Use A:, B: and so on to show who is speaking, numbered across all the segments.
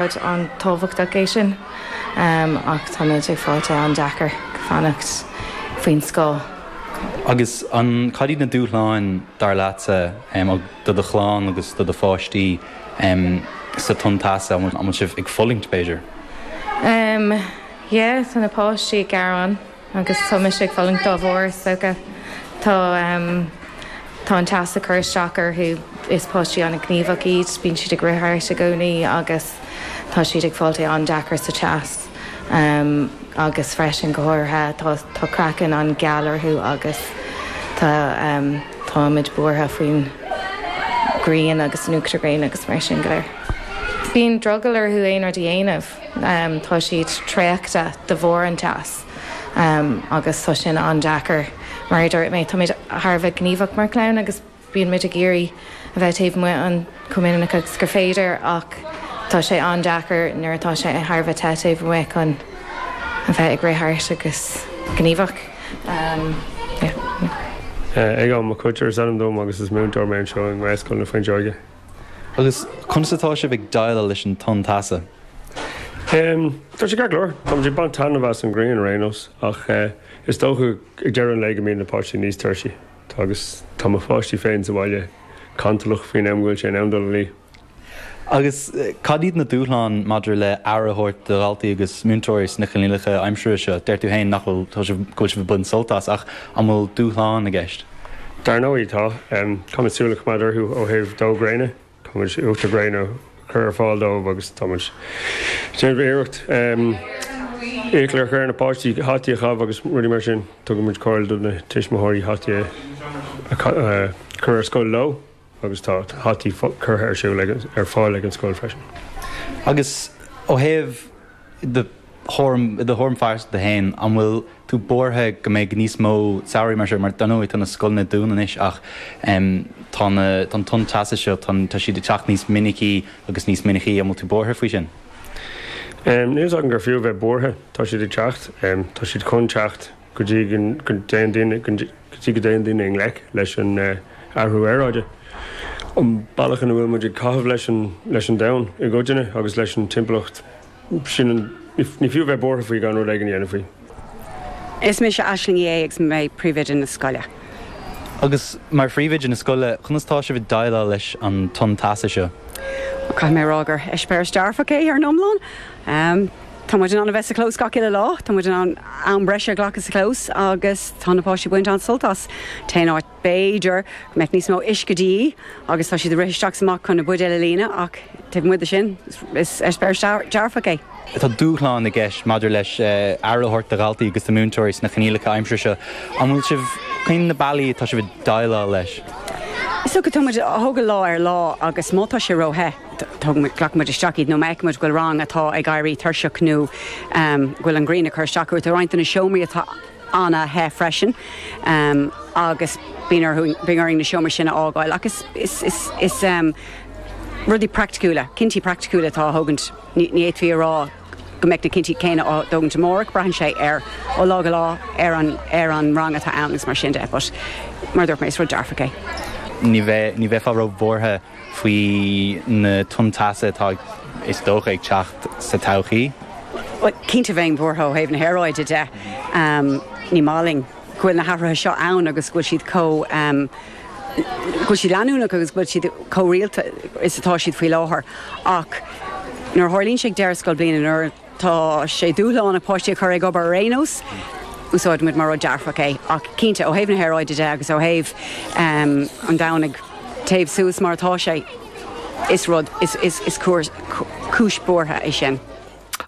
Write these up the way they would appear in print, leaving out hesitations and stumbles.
A: Rud an-tábhachtach é sin ach táimid ag fáilt é an-deacair fanacht faoin scáth.
B: Agus an, cad iad na dúshláin, dar leatsa, do do chlann agus do do pháistí sa tonn teasa? An bhfuil sibh ag fulaingt, b'fhéidir?
A: Yeah, tá na páistí ag gearán. Agus tá mise ag fulaingt dá bharr, is dócha. Tá tá an teas ag cur isteach orthu. Is páistí an-ghníomhach iad, bíonn siad ag rith thart i gcónaí agus tá siad ag fáilt é an-deacair sa teas. Agus freisin, go háirithe, tá tá craiceann an-gheal orthu agus tá táimid buartha faoin ghrian agus an uachtar gréine agus mar sin go léir. Bíonn drogall orthu aon rud a dhéanamh. Tá siad traochta de bharr an teas agus tá sin an-deacair. Mar a dúirt mé, táimid thar a bheith gníomhach mar chlann agus bíonn muid ag iarraidh a bheith taobh amuigh an chomh minic agus gur féidir ach tá sé an-deacair nuair atá sé thar a bheith te taobh amuigh chun a bheith ag rith thart agus gníomhach.
C: Aogán Mac Coitir is ainm dom agus is múinteoir mé anseo i nGaelscoil na Fuinseoige.
B: Agus conas atá sibh ag déileáil leis an tonn teasa?
C: Tá sé ceart go leor. Táimid ag baint taitneamh as an ghrian ar aon nós ach is dócha ag deireadh an lae go mbíonn na páistí níos tuirsí. Agus tá mo pháistí féin sa bhaile cantalach faoin am go bhfuil sé in am dul a luí.
B: Agus cad iad na dúshláin maidir le aire a thabhairt do dhaltaí agus múinteoirí sna coinníollacha aimsire seo? Deir tú féin nach bhfuil, tá sibh, go bhfuil sibh ag baint sult as ach an bhfuil dúshláin i gceist?
C: Dar ndóigh tá. Caithfimid súil a choimeád orthu ó thaobh dó gréine. Táimid uachtar gréine a chur ar fáil dóibh agus táimid ag déanamh iarracht iachall a chur ar na páistí hataí a chaitheamh agus rudaí mar sin. Tugann muid comhairle do na tuismitheoirí hataí a chur ar scoil leo agus tá hataí curtha ar siúl ar fáil ag an scoil freisin.
B: Agus ó thaobh do thuairim, i do thuairim phearsanta féin, an bhfuil tú buartha go mbeidh níos mó samhraí mar seo, mar dar ndóigh tá na scoileanna dúnta anois ach tá na, tá an tonn teasa seo, tá, tá siad ag teacht níos minicí agus níos minicí, an bhfuil tú buartha faoi sin?
C: Níl fhios agam gur fiú a bheith buartha, tá siad ag teacht, tá siad chun teacht go dtí go dtéann daoine, go dtí go dtéann daoine i ngleic leis an athrú aeráide. An bealach ina bhfuil muid ag caitheamh leis an, leis an domhan i gcoitinne agus leis an timpeallacht. Sin an, ní fiú a bheith buartha faoi gan rud éigin a dhéanamh faoi.
D: Is mise Aisling Uí Aodha agus mé Príomhoide na scoile.
B: Agus mar phríomhoide na scoile, conas tá sibh ag déileáil leis an tonn teasa seo?
D: Caithfidh mé a rá gur eispéireas dearfach é ar an iomlán. Tá muid in ann a bheith sa chlós gach uile lá, tá muid in ann am breise a ghlacadh sa chlós agus tá na páistí ag baint an-sult as. T-aon áit B'fhéidir go mbeadh níos mó uisce de dhíth agus tá siad ag rith isteach is amach chun na buidéil a líonadh ach taobh amuigh de sin, is eispéireas dearfach é.
B: Tá dúshlán i gceist maidir leis aire a thabhairt do dhaltaí agus do mhúinteoirí sna coinníollacha aimsire seo. An bhfuil sibh, cén na bealaí atá sibh ag déileáil leis?
D: Is dócha tá muid á thógáil lá ar lá agus má tá sé ró-the, glacann muid isteach iad nó má fheiceann muid go bhfuil rang atá ag éirí tuirseach nó go bhfuil an ghrian ag cur isteach orthu, tá roinnt de na seomraí atá an-the freisin agus bíonn orthu, bíonn orainn na seomraí sin a fhágáil ach is, is, is, is rudaí praiticiúla, cinntí praiticiúla atá á thógaint, ní, ní fhéadfaí a rá go mbeadh na cinntí céanna á dtógaint amárach, braitheann sé ar, ó lá go lá ar an, ar an rang atá ann agus mar sin de but mar a dúirt mé is rud dearfach é.
B: Ní bheidh, ní bheifeá ró-bhuartha faoi na tonn teasa atá, is dócha, ag teacht sa todhchaí?
D: Bhuel, cinnte bheinn buartha ó thaobh na haeráide de. Ní maith linn go bhfuil na hathruithe seo ann agus go bhfuil siad chomh, go bhfuil siad leanúnach agus go bhfuil siad chomh rialta is atá siad faoi láthair. Ach nuair a tharlaíonn sé ag deireadh scoilbhliana, nuair Tá sé dúshlánach páistí a chur ag obair ar aon nós. Úsáideann muid mar rud dearfach é. Ach cinnte, ó thaobh na haeráide de agus ó thaobh an domhan ag téamh suas mar atá sé, is rud, is, is, is cúis buartha é sin.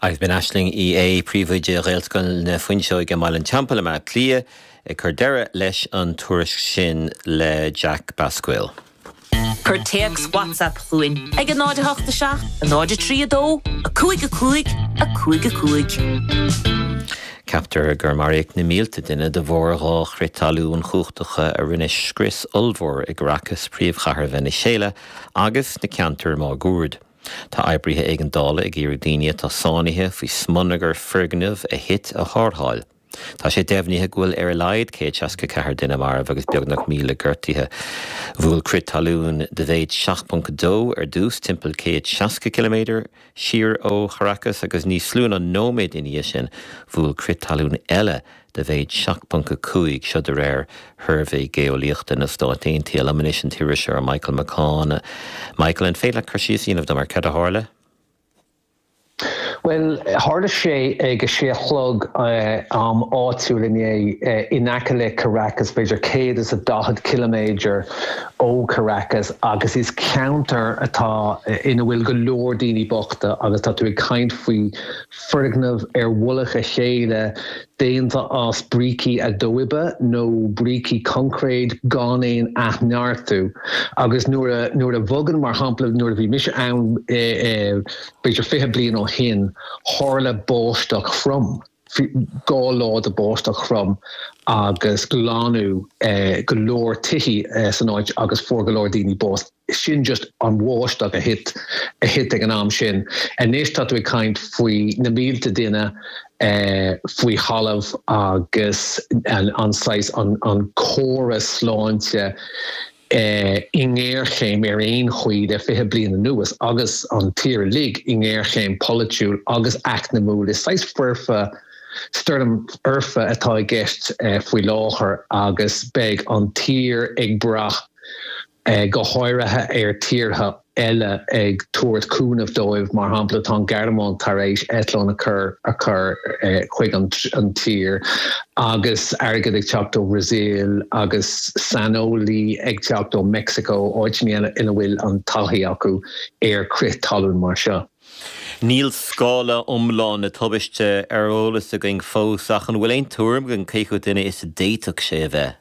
E: Agus b'in Aisling Uí Aodha, Príomhoide Ghaelscoil na Fuinseoige i mBaile an Teampaill i mBaile Átha Cliath, ag cur deireadh leis an tuairisc sin le Jack Basquill.
F: Cuir téacs WhatsApp chugainn ag 0 8 7 0 3 2 5 5 5 5.
E: Ceaptar gur maraíodh na mílte duine de bharr dha chrith talún chumhachtacha a rinne scrios ollmhór i gCaracas, príomhchathair Veiniséala, agus sna ceantair máguaird. Tá oibrithe éigeandála ag iarraidh daoine atá sáinnithe faoi smionagar foirgneamh a thit a tharrtháil. Tá sé deimhnithe go bhfuil ar a laghad 164 duine marbh agus beagnach 1,000 gortaithe. Bhuail crith talún de mhéid 7.2 ar dtús timpeall 160 ciliméadar siar ó Characas agus níos lú ná nóiméad ina dhiaidh sin bhuail crith talún eile de mhéid 7.5, seo de réir Shuirbhé Geolaíochta na Stát Aontaithe. Liom anois an t-iriseoir Michael McCaughan. Michael, an féidir leat cur síos a dhéanamh dom ar cad a tharla?
G: Bhuel, tharla sé ag a sé a chlog am áitiúil inné in aice le Caracas, b'fhéidir 140 ciliméadar ó Caracas agus is ceantar atá ina bhfuil go leor daoine bochta agus tá tú ag caint faoi foirgneamh ar mhullach a chéile déanta as brící adobe nó brící coincréid gan aon athneartú agus nuair a nuair a bhogann mar shampla nuair a bhí mise ann b'fhéidir 20 bliain ó shin tharla báisteach throm, 2 lá de báisteach throm agus glanadh go leor tithí san áit agus fuair go leor daoine bás. Sin just an bháisteach a thit a thit ag an am sin. Anois tá tú ag caint faoi na mílte duine faoi thalamh agus an saghas an an córas sláinte i ngéarchéim ar aon chaoi le 20 bliain anuas agus an tír uilig i ngéarchéim polaitiúil agus eacnamúil. Is saghas foirfe stoirm fhoirfe atá i gceist faoi láthair agus beidh an tír ag brath go háirithe ar tíortha eile ag tabhairt cúnamh dóibh, mar shampla tá an Ghearmáin tar éis eitleán a chur a chur chuig an tír agus airgead ag teacht ó Bhrasaíl agus saineolaí ag teacht ó Meicsiceo, áiteanna eile ina bhfuil an taithí acu ar crith talún mar seo.
E: Níl scála iomlán na tubaiste ar eolas againn fós ach an bhfuil aon tuairim againn cé chomh duine is a d'fhéadfadh sé a bheith?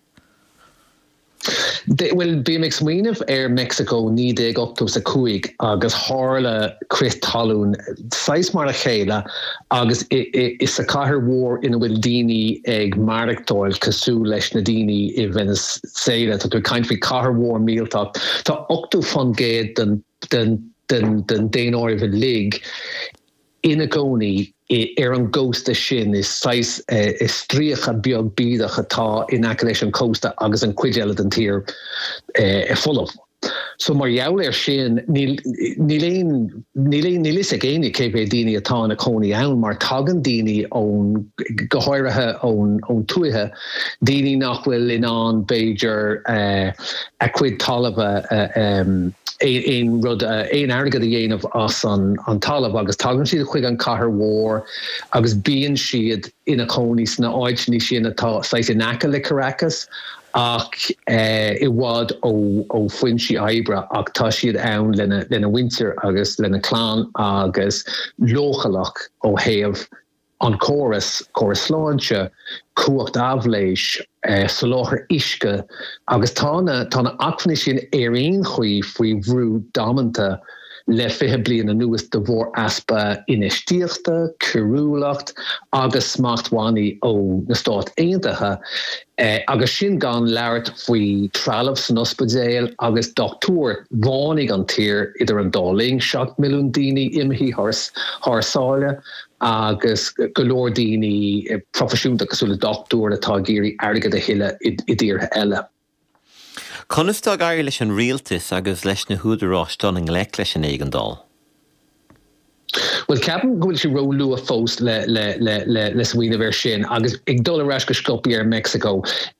G: Bhuel, bím ag smaoineamh ar Meicsiceo 1985 agus tharla crith talún saghas mar a chéile agus i sa chathair mhór ina bhfuil daoine ag maireachtáil cosúil leis na daoine i Venezuela. Tá tú ag caint faoi chathair mhór millteach. Tá 80% den den den den daonáireamh uilig ina gcónaí ar an gcósta sin. Is saghas stríoca beag bídeach atá in aice leis an chósta agus an chuid eile den tír folamh. So mar gheall air sin níl níl aon níl aon níl fhios ag éinne cé mhéad daoine atá ina cónaí ann mar tagann daoine ón go háirithe ón ón tuaithe, daoine nach bhfuil in ann b'fhéidir a cuid talamh a aon rud, aon airgead a dhéanamh as an talamh agus tagann siad chuig an chathair mhór agus bíonn siad ina cónaí sna áiteanna sin atá saghas in aice le Caracas ach i bhfad ó fhoinsí oibre ach tá siad ann lena lena mhuintir agus lena clann agus leochaileach ó thaobh an córas, córas sláinte, cumhacht aibhléis, soláthar uisce agus tá na, tá na acmhainní sin ar aon chaoi faoi bhrú damanta le 20 bliain anuas de bharr easpa infheistíochta, coiriúlacht agus smachtbhannaí ó na Stáit Aontaithe agus sin gan labhairt faoi trealamh san ospidéal agus dochtúir. Bhánaigh an tír idir an dá linn, 7 milliún daoine imithe thar sáile. agus go leor daoine proifisiúnta cosúil le dochtúir atá ag iarraidh airgead a thuilleadh i dtíortha eile.
E: Conas tá ag éirí leis an rialtas agus leis na húdaráis dul i ngleic leis an éigeandáil?
G: Bhuel, ceapaim go bhfuil sé ró-luath fós le le smaoineamh air sin agus ag dul ar ais go sciobtha ar Meicsiceo,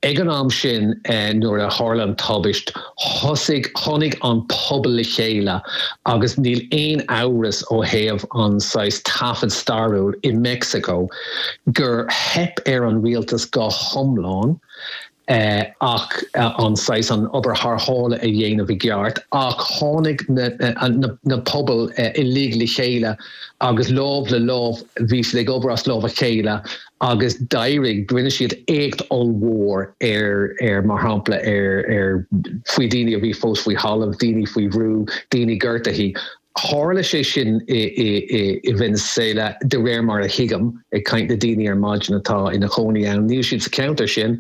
G: ag an am sin nuair a tharla an tubaist, Thosaigh, tháinig an pobal le chéile agus níl aon amhras ó thaobh an saghas taifead stairiúil i Meicsiceo gur theip ar an rialtas go hiomlán ach an saghas, an obair tharrthála a dhéanamh i gceart ach tháinig na na pobail uilig le chéile agus lámh le lámh bhí siad ag obair as lámh a chéile agus d'éirigh, rinne siad éacht ollmhór ar, ar, mar shampla, ar, ar, faoi daoine a bhí fós faoi thalamh, daoine faoi bhrú, daoine gortaithe. Tharla sé sin i, i, i, i Venezuela de réir mar a thuigim, ag caint le daoine ar maidin atá ina chónaí ann. Níl siad sa cheantar sin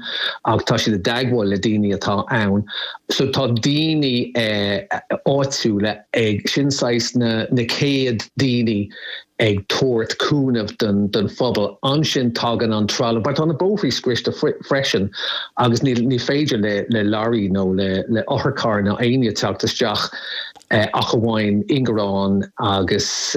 G: ach tá siad i dteagmháil le daoine atá ann. So tá daoine eh, áitiúla ag, sin saghas na, na chéad daoine. Ag tabhairt cúnamh don phobal. Ansin tagann an trealamh, mar tá na bóithrí scriosta freisin agus ní féidir le leoraí nó le otharcharr ná éinne teacht isteach ach amháin ingearán agus.